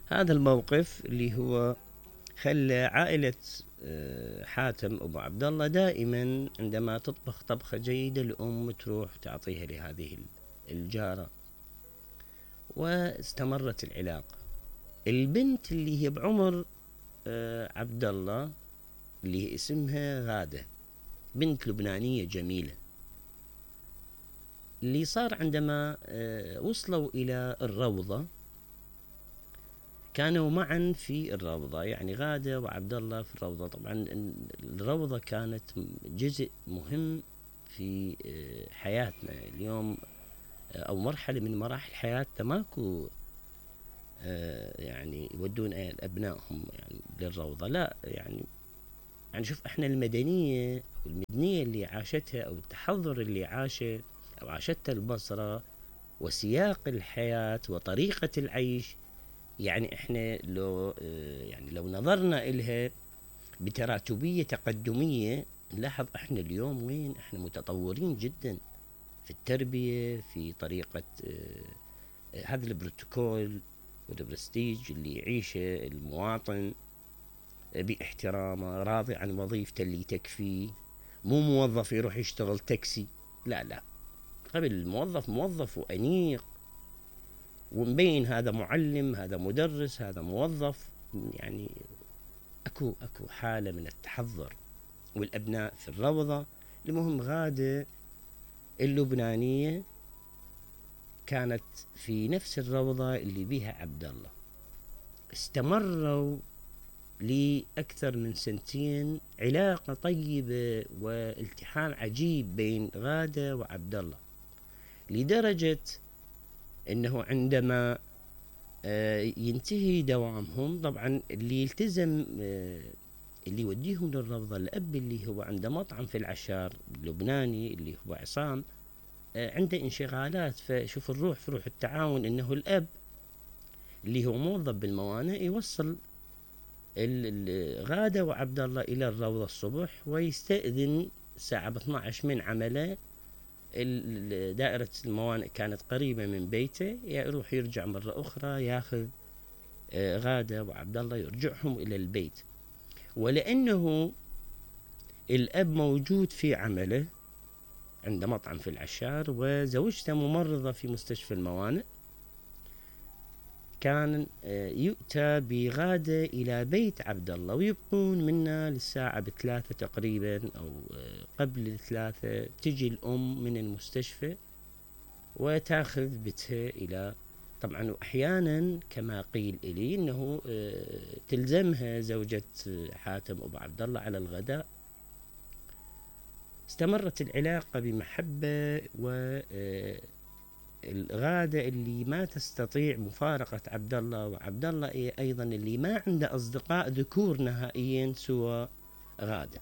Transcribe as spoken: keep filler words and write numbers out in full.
هذا الموقف اللي هو خلى عائلة حاتم أبو عبد الله دائما عندما تطبخ طبخة جيدة الأم تروح تعطيها لهذه الجارة، واستمرت العلاقة. البنت اللي هي بعمر عبد الله اللي اسمها غادة، بنت لبنانية جميلة. اللي صار عندما وصلوا إلى الروضة كانوا معا في الروضة، يعني غادة وعبد الله في الروضة. طبعا الروضة كانت جزء مهم في حياتنا اليوم، أو مرحلة من مراحل حياتنا. ماكو يعني يودون أبنائهم يعني للروضة، لا يعني يعني شوف احنا المدنية والمدنية اللي عاشتها أو التحضر اللي عاشه أو عاشتها البصرة وسياق الحياة وطريقة العيش، يعني احنا لو يعني لو نظرنا إلها بتراتبية تقدمية نلاحظ احنا اليوم وين، احنا متطورين جدا في التربية، في طريقة هذا البروتوكول والبرستيج اللي يعيشه المواطن باحترامه، راضي عن وظيفته اللي تكفيه، مو موظف يروح يشتغل تاكسي، لا لا، قبل الموظف موظف وأنيق ومبين هذا معلم، هذا مدرس، هذا موظف. يعني اكو اكو حالة من التحضر. والابناء في الروضة. المهم غادة اللبنانية كانت في نفس الروضة اللي بيها عبد الله، استمروا لأكثر من سنتين، علاقة طيبة والتحام عجيب بين غادة وعبد الله، لدرجة انه عندما ينتهي دوامهم، طبعا اللي يلتزم اللي يوديهم للروضة الأب اللي هو عنده مطعم في العشار اللبناني اللي هو عصام، عنده انشغالات. فشوف الروح في روح التعاون، انه الأب اللي هو موظف بالموانئ يوصل غادة وعبد الله إلى الروضة الصبح، ويستأذن الساعة اثنتي عشرة من عمله. دائرة الموانئ كانت قريبة من بيته، يروح يرجع مرة أخرى ياخذ غادة وعبد الله يرجعهم إلى البيت. ولأنه الأب موجود في عمله عنده مطعم في العشار وزوجته ممرضة في مستشفى الموانئ، كان يؤتى بغادة إلى بيت عبد الله ويبقون منا للساعة بثلاثة تقريبا أو قبل الثلاثة. تجي الأم من المستشفى وتاخذ بنتها إلى، طبعا أحيانا كما قيل إلي أنه تلزمها زوجة حاتم أبو عبد الله على الغداء. استمرت العلاقة بمحبة، و الغادة اللي ما تستطيع مفارقة عبد الله، وعبد الله أيضا اللي ما عنده أصدقاء ذكور نهائيا سوى غادة.